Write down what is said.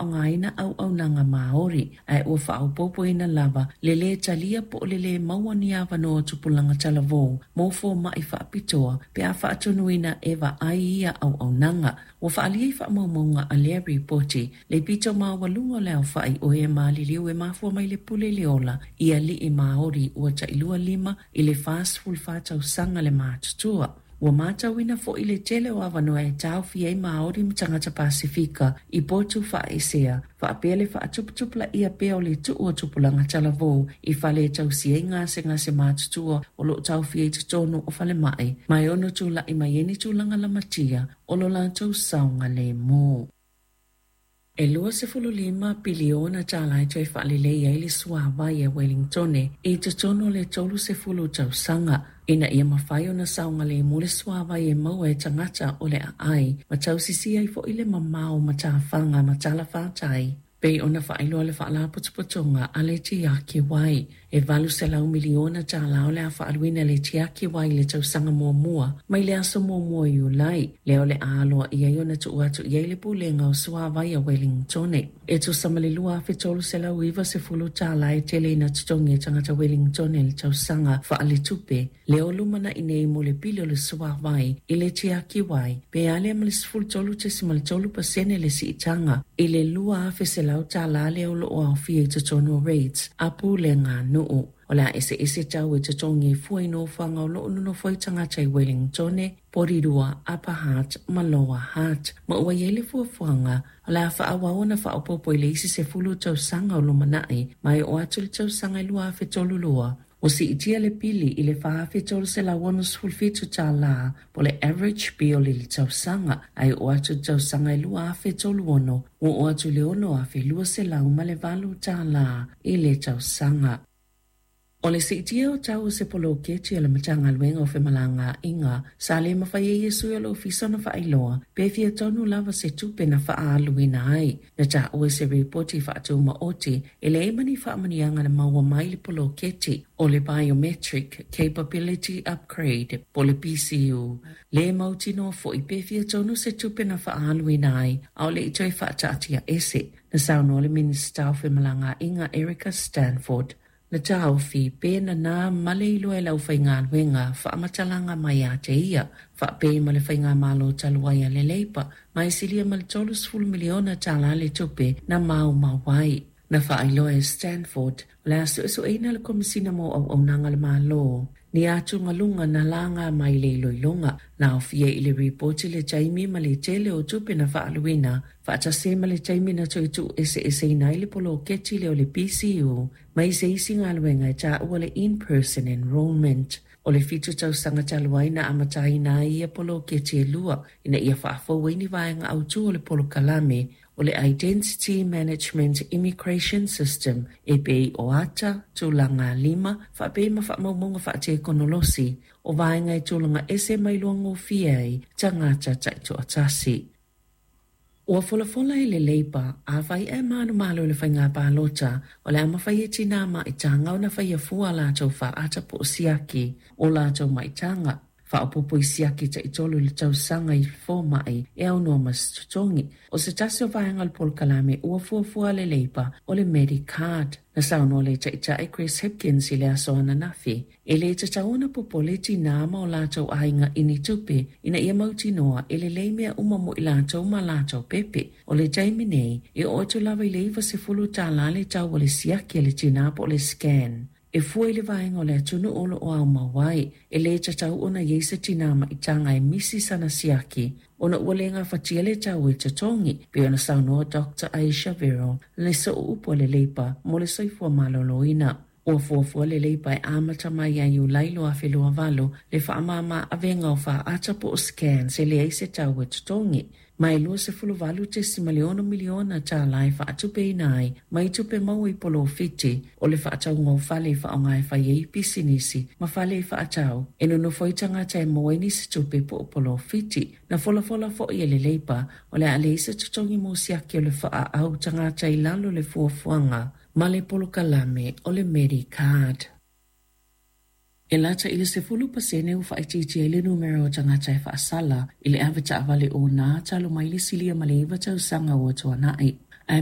faaaogaina auaunaga Māori, ae ua faaopoopoina lava le lē talia po o le lē maua ni avanoa tupulaga talavou mo fomaʻi faapitoa pe a faatonuina e vaai ia auaunaga. Ua faaalia i faamaumauga a lea ripoti le pito maualuga o le aofaʻi o e maliliu e mafua mai le pule i le ola i aliʻi Māori ua tailua 5 i le 44 tausaga le matutua. Ua matauina foʻi le tele o avanoa e taofia ai Māori ma tagata Pasefika i potu faaesea, faapea le faatuputupulaia pea o le tuu o tupulaga talavou i fale e tausia ai gasegase matutua o loo taofia i totonu o falemai, ma e ono tulaʻi mai ai ni tulaga lamatia o lo latou saogalemu. E 25 piliona tālā e toe faalelei ai le suāwai a Wellingtone i totonu o le 30 tausaga, ina ia mafai ona saogalemu le suāwai e maua e tagata o le aai ma tausisia ai foʻi le mamao o matafaga ma talafātai, pei ona faailoa le Faalapotopotoga a le Tiaki Wai. E 800 miliona tālā o le a faaluina e le Tiaki Wai i le tausaga muamua mai le aso 1 o Iulai, lea o le a aloaia ai ona tuu atu i ai le Pulega o Suāwai a Wellingtone. E tusa ma le 2,390 tālā e tele ina totogi e tagata Wellingtone i le tausaga faaletupe lea o lumanaʻi nei mo le pili o le suāwai i le Tiaki Wai, pe a lea ma le 13.3% le siitaga i le 2,100 tālā lea o loo aofia i totonu o rates a pulega nuu. O le a eseese tau e totogi e fua i nofoaga o loo nonofo ai tagata i Wellingtone, Porirua, Upper Hutt ma Lower Hutt, ma ua i ai le fuafuaga o le a faaauau ona faaopoopo i le isi 10 tausaga o lumanaʻi, ma e oo atu i le tausaga e 2032 ua siitia le pili i le 4,367 tālā po o le average bill i le tausaga, ae oo atu i le tausaga e 2036 ua oo atu i le 6,208 tālā i le tausaga. O le siitia o tau o se poloketi a le Matagaluega o Femalagaaiga sa le mafai ai e sui o le ofisa ona faailoa pe fia tonu lava se tupe na faaaluina ai. Na taua i se ripoti faatumaoti e leai ma ni faamanuiaga na maua mai le poloketi o le Biometric Capability Upgrade po o le BCU. Le mautinoa foʻi pe fia tonu se tupe na faaaluina ai, a o le i toe faataatiaese. Na saunoa le Minisita o Femalagaaiga Erica Stanford, Na taofi pe nanā ma le iloa e le aufaigaluega faamatalaga mai ia te ia, faapei ma le faigamalo talu ai a le Leipa, ma e silia ma le 30 miliona tālā le tupe na maumau ai. Na faailoa e Stanford, o le a suesueina le Komesina mo Auaunaga a le Malo ni atugaluga na laga mai i le iloiloga. Na aofia i le ripoti le taimi ma le tele o tupe na faaluina, faatasi ai ma le taimi na toe tuueseeseina ai le poloketi lea o le BCU mai se isi galuega e taua le in-person enrolment. O le 7 tausaga talu ai na amataina ai ia poloketi e lua ina ia faafou ai ni vaega autū o le polokalame o le Identity Management Immigration System e pei o ata, tulaga lima, faapea ma faamaumauga faatekonolosi o vaega e tulaga ese ma iloagofie ai tagata taitoatasi. Ua folafola e le Leipa, afai ae manumalo i le faiga palota, o le a mafai e tinā maitaga ona faia fua a latou faata po o siaki o latou maitaga. Faaopoopo i siaki taitolu i le tausaga i fomaʻi e aunoa ma se totogi. O se tasi o vaega o le polokalame ua fuafua a le Leipa o le Medicard. Na saunoa le Taitai Chris Hipkins i le aso ananafi, e lē tatau ona popole tinā ma o latou aiga i ni tupe ina ia mautinoa e lelei mea uma mo i latou ma latou pepe. O le taimi nei, e oo atu lava i le 90 tālā le tau o le siaki a le tinā po o le scan. E fua i le vaega o le atunuu o loo aumau ai, e lē tatau ona i ai se tinā maitaga e misi sana siaki ona ua le gafatia le tau e totogi, pei ona saunoa Dr Ayesha Verrall, le sooupu a le Leipa mo le soifua maloloina. Ua fuafua le Leipa e amata mai ia Iulai 2028 le faamāmā avega o faata po o scans e leai se tau e totogi, ma e 28.6 miliona tālā e faatupeina ai mai tupe maua i polofiti o le faatauga o fale e faaaoga e fai ai pisinisi ma fale e faatau e nonofo ai tagata e maua ai nisi tupe po o polofiti. Na folafola foʻi e le Leipa o le a leai se totogi mo siaki o le faaau tagata i lalo o le fuafuaga ma le polokalame o le Medicard. E lata i le 10% ua faaitiitia ai le numera o tagata e faasala i le avetaavale onā talu mai le silia ma le 9 tausaga ua tuanai. Ae